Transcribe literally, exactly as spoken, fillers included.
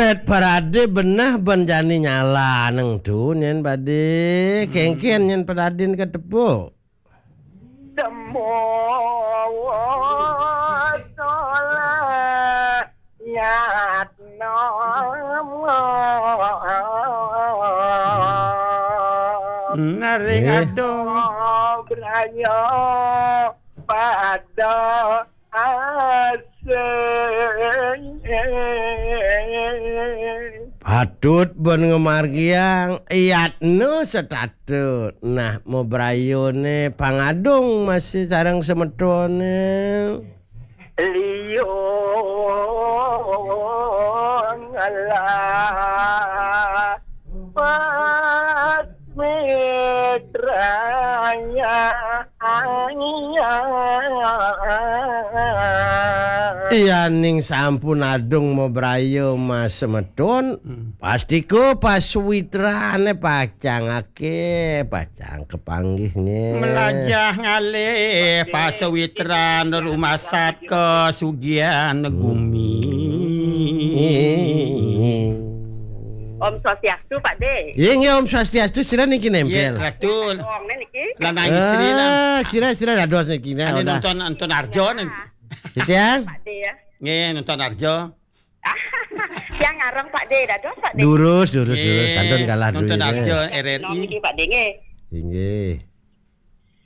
Parade beneh ben jani nyala neng tu nyen pade. Kengken nyen paradin katepuk. Semua soleh nyat nama. Naring Eh. Adong. Beraya pada asing. Patut ben ngemargiang yatna setatut. Nah, mabrayane pangadung masih sareng semetone. Liung lah pas mitranya. Iya ning sampun adung mabraya mas semetun. Hmm. Pastika pasuwitrane pacang ake, pacang kepanggihne. Melajah ngalih pasawitran rumasat kasugihan gumi. Om Swastiastu, Pak De. Iya, nggih, Om Swastiastu, sira niki nempel. Iya, Ratu. Wong niki. Lanang istri lah. Ah, sira, sira dados niki, nah, anu udah. Nonton, nonton Arjo nih. Tiang? Pak De ya. Nggih, nonton Arjo. Tiang ngarang Pak De, dados Pak De. Durus, durus, durus. Nggih, kantun kalah nonton duit, Arjo, nggih. R R I. Niki Pak De nggih. Inggih.